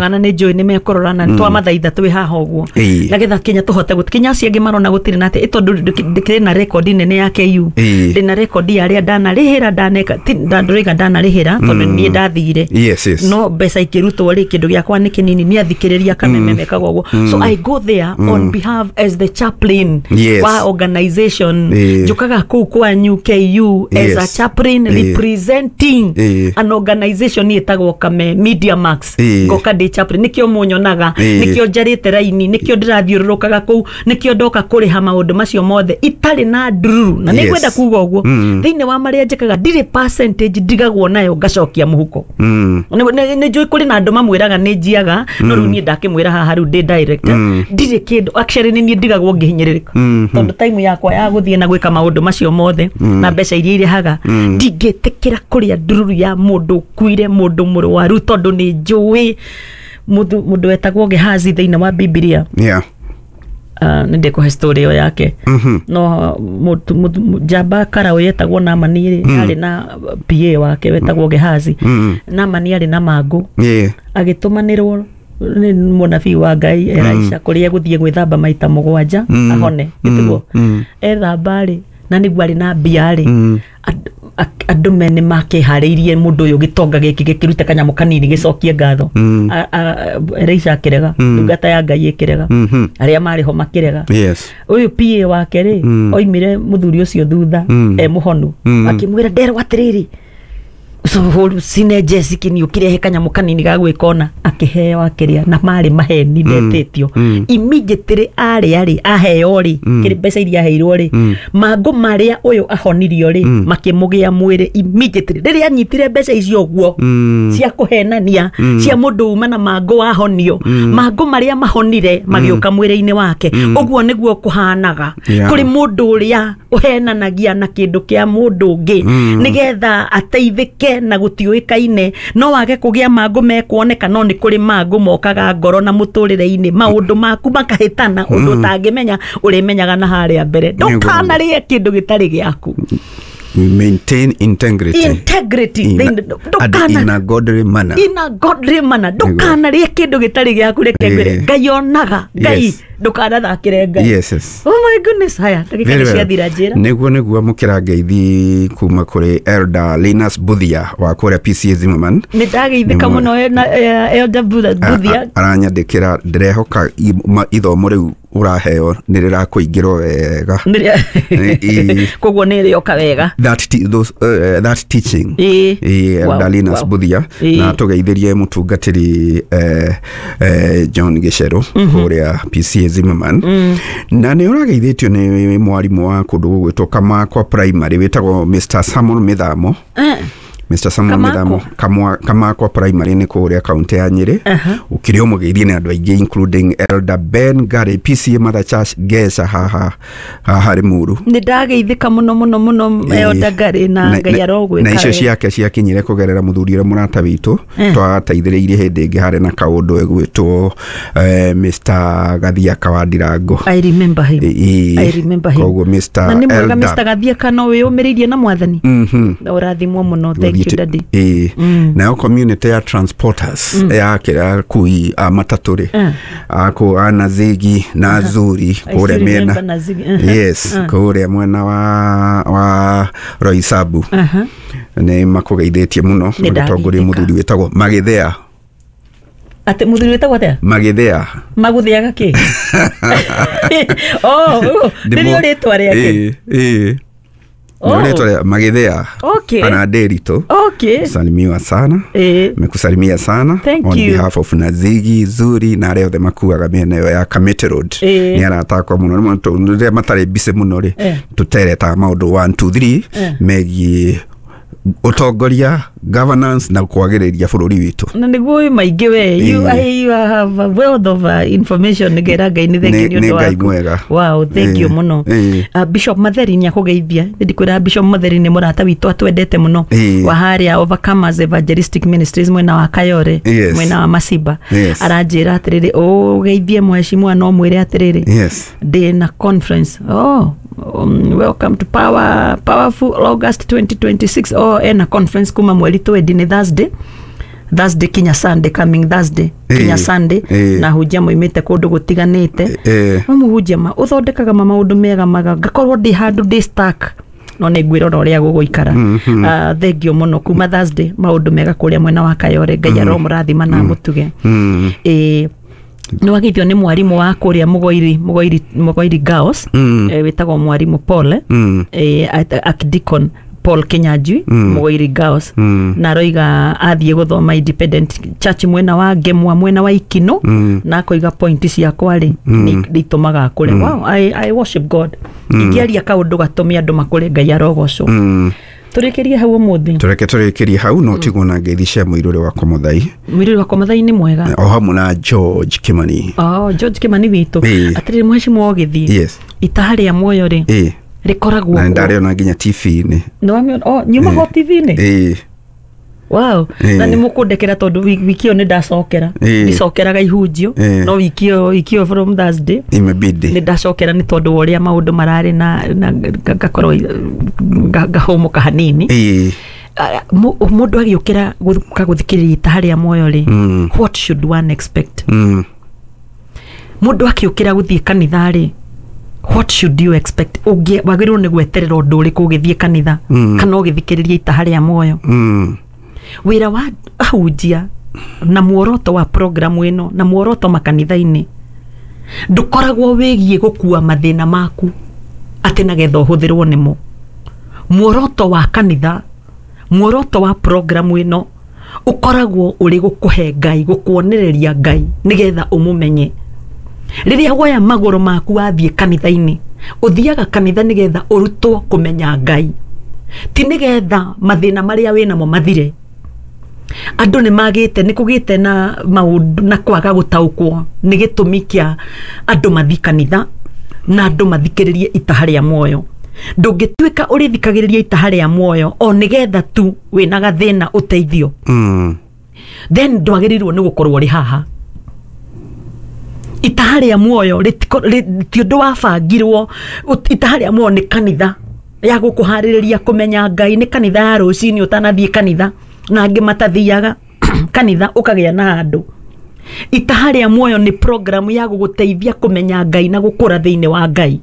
Ndũmaga na nĩ njũĩ nĩ mekũrora na twamathaitha twĩ haha ũguo, nĩgetha kinya tũhote kinya acio angĩ marona gũtirĩ na atĩ tondũ ndĩkĩrĩ na rekondi nene ya KU. Ndĩ na rekondi ya arĩa ndanarĩhĩra, ndaneka ndũrĩga ndanarĩhĩra tondũ niĩ ndathire. Yes. No mbeca ikĩrutwo rĩ, kĩndũ gĩakwa nĩ kĩnini, nĩ athikĩrĩria Kameme mekaga ũguo. So I go there on behalf as the chaplain wa organization. Njũkaga kũu kwanyu KU as a chaplain representing an organization ĩtagwo Kame Media Max. Ngoka ndĩ chaplain, nĩkĩo mũnyonaga, nĩkĩo njarĩte raini, nĩkĩo ndĩrathiũrũrũkaga kũu, nĩkĩo ndoka kũrĩha maũndũ macio mothe itarĩ na ndururu, na nĩngwenda kuga ũguo, thĩinĩ wa marĩa njĩkaga ndirĩ percentage ndigagwo nayo ngacokia mũhuko. Nĩ njũĩ kũrĩ na andũ mamwĩraga nĩ njiaga, no rĩu niĩ ndakĩmwĩra haha rĩu ndĩ director, ndirĩ kĩndũ. Actually, nĩ niĩ ndigagwo ngĩhinyĩrĩrĩka, tondũ time yakwa ya gũthiĩ na gwĩka maũndũ macio mothe na mbeca iria irĩhaga, ndingĩtĩkĩra kũrĩa ndururu ya mũndũ ũkuire, mũndũ mũrwaru, tondũ nĩ njũĩ mũndũ wetagwo Gehazi thĩinĩ wa Bibilia. Nĩ ndĩkũhe story ĩyo yake. No njamba karaũ yetagwo Namani rĩ, arĩ na PA wake wetagwo Gehazi. Namani arĩ na mangũ, agĩtũmanĩrwo nĩ mũnabii wa Ngai Elisha kũrĩa egũthiĩ gwĩthamba maita 7 ahone. Gĩtiguo ethamba rĩ, na nĩguo arĩ na mbia rĩ, andũ me nĩ makĩharĩirie mũndũ ũyũ gĩtonga gĩkĩ gĩkĩrute kanyamũ kanini gĩcokie ngatho. Elisha akĩrega, ndungata ya Ngai ĩkĩrega, arĩa marĩ ho makĩrega. Ũyũ PA wake rĩ, oimire mũthuri ũcio thutha e mũhonu, akĩmwĩra, "Nderwo atĩrĩrĩ, sinenjeci ũkĩrehe kanyamũ kanini ga gwĩkona." Akĩheo, akĩrĩa, na marĩ maheni ndetĩtio. Immediately arĩa rĩ, aheo rĩ, kĩrĩ mbeca iria aheirwo rĩ, mangũ marĩa ũyũ ahonirio rĩ, makĩmũgĩa mwĩrĩ immediately rĩrĩa anyitire mbeca icio ũguo cia kũhenania, cia mũndũ uma na mangũ wahonio. Mangũ marĩa mahonire magĩũka mwĩrĩ-inĩ wake. Ũguo nĩguo kũhanaga kũrĩ mũndũ ũrĩa ũhenanagia na kĩndũ kĩa mũndũ ũngĩ nĩgetha ateithĩke na gũtiũĩkaine. No wage kũgĩa mangũ mekuoneka, no nĩ kũrĩ mangũ mokaga ngoro na mũtũrĩre-inĩ, maũndũ maku makahĩtana ũndũ ũtangĩmenya, ũrĩmenyaga na harĩa mbere. Ndũkanarĩe kĩndũ gĩtarĩ gĩaku. We maintain integrity. Integrity. And in a godly manner. In a godly manner. Ndũkanarĩe kĩndũ gĩtarĩ gĩaku. Reke ngwĩre, Ngai onaga. Ngai, ndũkanathakĩre Ngai. Oh my goodness, haya, ndagĩka Very nĩ well. ciathira, njĩra. Nĩguo mũkĩra ngeithi kuma kũrĩ Elder Linus Buthia wa kũrĩa PCA Zimmerman. Nĩ ndageithĩka mũno na Elder Buthia. Aranyandĩkĩra, ndĩrehoka ithomo rĩu ũraheo nĩ rĩrakũingĩrwo wega. Koguo nĩ rĩoka wega. That teaching. Elder Linus Buthia, na tũgeithĩrie mũtungatĩri John Gĩcerũ kũrĩa PCA Zimmerman. Na nĩ ũrageithĩtio nĩ mwarimũ wa kũndũ gũgwĩtwo Kamakwa Primary wĩtagwo Mr Samuel Mĩthamo. Mr Samuel Kamakwa? Mĩthamo, Kamakwa Primary nĩ kũrĩa kaunti ya Nyĩrĩ. Ũkĩrĩ ũmũgeithie nĩ andũ aingĩ, including Elder Ben Gary, PCA Mother Church Gesha, haha haha Limuru. Nĩ ndageithĩka mũno mũno mũno, Elder Gary, na Ngai arogwĩka Na icio wega. Ciake ciakinyire kũgerera mũthuri ũrĩa mũrata witũ twateithĩrĩirie hĩndĩ ĩngĩ harĩ na kaũndũ egwĩtwo Mr Gathiaka wa Ndirango. I remember him. I remember him. Koguo Mr Na nĩ mwega. Elder. Mr Gathiaka, no wĩyũmĩrĩirie na Mwathani. Ũrathimwo mũno. Thank you, daddy. Ĩĩ. Nayo community ya transporters ya kĩrĩa akui a matatũ rĩ, akũ a Nazigi na Zuri I kũrĩa still mĩena remember Nazigi. Yes, kũrĩa mwena wa Roysambu nĩ makũgeithĩtie mũno Nĩ magĩtongoria ndageithĩka. Mũthuri wĩtagwo Magĩthea. Atĩ mũthuri wĩtagwo atĩa? Magĩthea. Magũthĩaga kĩ? Oh, nĩrĩo rĩtwa rĩake? Ĩĩ. Oh. Nĩ rĩtwa rĩa Magĩthea. Ana Nderitu. Salimiwa sana. Mekusalimia sana Thank on you. behalf of Nazigi, Zuri na arĩa othe makuaga mĩena ĩyo ya Kamiti Road. Nĩ aratakwa mũno. Rĩmwe rĩrĩa matarĩ busy mũno rĩ, tũteretaga maũndũ 1 2 3 megiĩ ũtongoria, governance na kwagĩrĩria bũrũri witũ. Na nĩguo wĩ maingĩ we. You, you have a wealth of information. Ngera Ngai nĩ thengiũ Nĩ nĩ ũndũ Ngai waku. mwega. Wow, thank you mũno. Bishop Matheri nĩ akũgeithia. Ndikwĩra Bishop Matheri nĩ mũrata witũ atwendete mũno, wa harĩa Overcomers Evangelistic Ministries mwena wa Kayore, mwena wa Masiba. Aranjĩra atĩrĩrĩ, ũgeithie mheshimiwa, no mwĩre atĩrĩrĩ, ndĩ na conference. Oh, welcome to power, powerful August 2026. Oh, ena conference kuma mweri 20, nĩ Thursday. Thursday kinya Sunday, coming Thursday kinya Sunday, na hunjia moimĩte kũndũ gũtiganĩte. No mũhunjia ma ũthondekaga ma maũndũ mega maga ngakorwo ndĩ handũ ndĩ stuck, no nĩ ngwĩrora ũrĩa gũgũikara. Thengio mũno kuma Thursday, maũndũ mega kũrĩa mwena wa Kayore. Ngai aromũrathima na amũtuge. Nĩ wageithio nĩ mwarimũ wa kũrĩa Mũgoiri, Mũgoiri, Mũgoiri Girls, wĩtagwo mwarimũ Paul, Archdeacon Paul Kinyanjui, Mũgoiri Girls, na aroiga athiĩ gũthoma Independent Church mwena wa Ngemwa, mwena wa Ikino, na akoiga point ciakwa rĩ nĩ itũmaga akũre. Wow, I worship God. Ingĩaria kaũndũ gatũme andũ makũre, Ngai arogocwo. Tũrĩkĩrie hau ũmũthĩ. Tũreke tũrĩkĩrie hau, no tigwo na ngeithi cia mũirũrĩ wakwa Mũthai. Mũirũrĩ wakwa Mũthai nĩ mwega. O hamwe na George Kimani. Oh, George Kimani witũ. Atĩrĩrĩ mheshimiwa, ũgĩthiĩ itaha rĩa muoyo rĩ rĩkoragwo na ndarĩona nginya TV-inĩ. Nĩwamĩona? Oh, nyumaga TV-inĩ. Wow. Na nĩ mũkũndekera tondũ wiki ĩyo nĩ ndacokera. Ndicokeraga ihunjio, no wiki ĩyo from Thursday imebidi nĩ ndacokera nĩ tondũ wa ũrĩa maũndũ mararĩ na ngakorwo ngahũmũka hanini. Mũndũ agĩũkĩra gũka gũthikĩrĩria itaha rĩa muoyo rĩ, what should one expect? Mũndũ akĩũkĩra gũthiĩ kanitha rĩ, what should you expect? Wagĩrĩirwo nĩ gweterera ũndũ ũrĩkũ ũgĩthiĩ kanitha kana ũgĩthikĩrĩria itaha rĩa muoyo? Wĩra wa ahunjia na muoroto wa programu ĩno na muoroto makanitha-inĩ ndũkoragwo wĩgiĩ gũkua mathĩna maku atĩ nagetha ũhũthĩrwo nĩmo. Muoroto wa kanitha, muoroto wa programu ĩno ũkoragwo ũrĩ gũkũhe Ngai, gũkuonereria Ngai nĩgetha ũmũmenye. Rĩrĩa woya magũrũ maku wathiĩ kanitha-inĩ, ũthiaga kanitha nĩgetha ũrutwo kũmenya Ngai, ti nĩgetha mathĩna marĩa wĩnamo mathire. Andũ nĩ magĩte, nĩ kũgĩte na maũndũ na kwaga gũtaũkwo nĩ gĩtũmi kĩa andũ mathi kanitha na andũ mathikĩrĩrie itaha rĩa muoyo. Ndũngĩtuĩka ũrĩthikagĩrĩria itaha rĩa muoyo o nĩgetha tu wĩna gathĩna ũteithio, then ndwagĩrĩirwo nĩ gũkorwo ũrĩ haha. Itaha rĩa muoyo ti ũndũ wabangirwo. Itaha rĩa muoyo nĩ kanitha ya gũkũharĩrĩria kũmenya Ngai, nĩ kanitha ya rũcinĩ ũtanathiĩ kanitha na angĩ matathiaga kanitha ũkagĩa na handũ. Itaha rĩa muoyo nĩ programu ya gũgũteithia kũmenya Ngai na gũkũra thĩinĩ wa Ngai.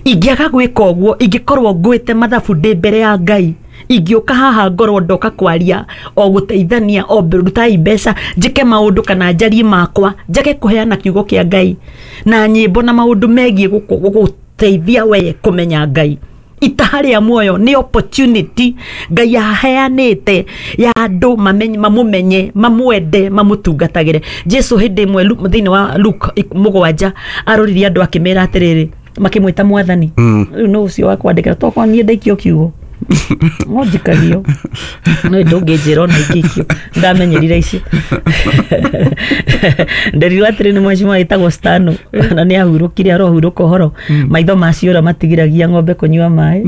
Ingĩaga gwĩka ũguo, ingĩkorwo ngwĩte mathabu ndĩ mbere ya Ngai, ingĩũka haha ngorwo ndoka kwaria o gũteithania o rutai mbeca njĩke maũndũ kana njarie makwa, njage kũheana kiugo kĩa Ngai na nyĩmbo na maũndũ megiĩ gũgũteithia we kũmenya Ngai. Itaha rĩa muoyo nĩ opportunity Ngai aheanĩte ya andũ mamũmenye, mamwende, mamũtungatagĩre. Jesu hĩndĩ ĩmwe thĩinĩ wa Luke 7 aroririe andũ akĩmera atĩrĩrĩ, makĩmwĩta mwathani. Rĩu no ũcio wa kwandĩkĩra tokorwo niĩ ndaikio kiugo no njikagio, no ndũngĩnjĩra ona ingĩikio, ndamenyerire icio. Nderirwo atĩrĩ nĩ mheshimiwa wĩtagwo Stano na nĩ ahurũkire, arohurũka ũhoro, maitho maciũra matigiragia ng'ombe kũnyua maĩ.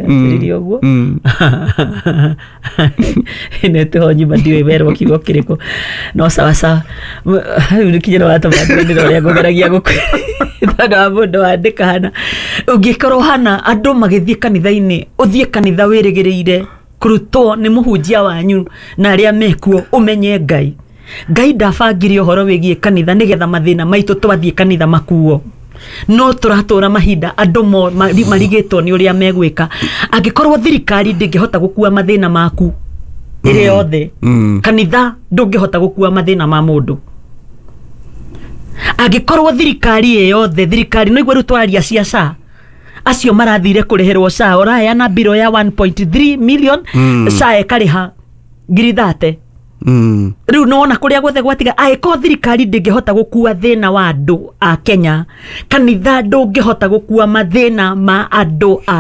Atĩrĩrie ũguo nĩtĩho nyumba ndiũĩ werwo kiugo kĩrĩkũ, no sawa sawa. Rĩu nĩkinyĩra watũma ndĩrona ũrĩa ngũgeragia gũkwĩra tondũ wa mũndũ wandĩka hana. Ũngĩkorwo hana andũ magĩthiĩ kanitha-inĩ, ũthiĩ kanitha wĩrĩgĩrĩire kũrutwo nĩ mũhunjia wanyu na arĩa mekuo ũmenye Ngai. Ngai ndabangire ũhoro wĩgiĩ kanitha nĩgetha mathĩna maitũ twathiĩ kanitha makuo. No tũratũra mahinda andũ marigĩtwo nĩ ũrĩa megwĩka. Angĩkorwo thirikari ndĩngĩhota gũkua mathĩna maku ĩrĩ yothe, kanitha ndũngĩhota gũkua mathĩna ma mũndũ. Angĩkorwo thirikari ĩ yothe, thirikari no igua rĩu twaria cia SHA, acio marathire kũrĩhĩrwo SHA, ũraheana mbirũ ya 1.3 million, SHA ĩkarĩha ngiri 30. Rĩu nĩwona kũrĩa guothe gwatiga. Angĩkorwo thirikari ndĩngĩhota gũkua thĩna wa andũ a Kenya, kanitha ndũngĩhota gũkua mathĩna ma andũ a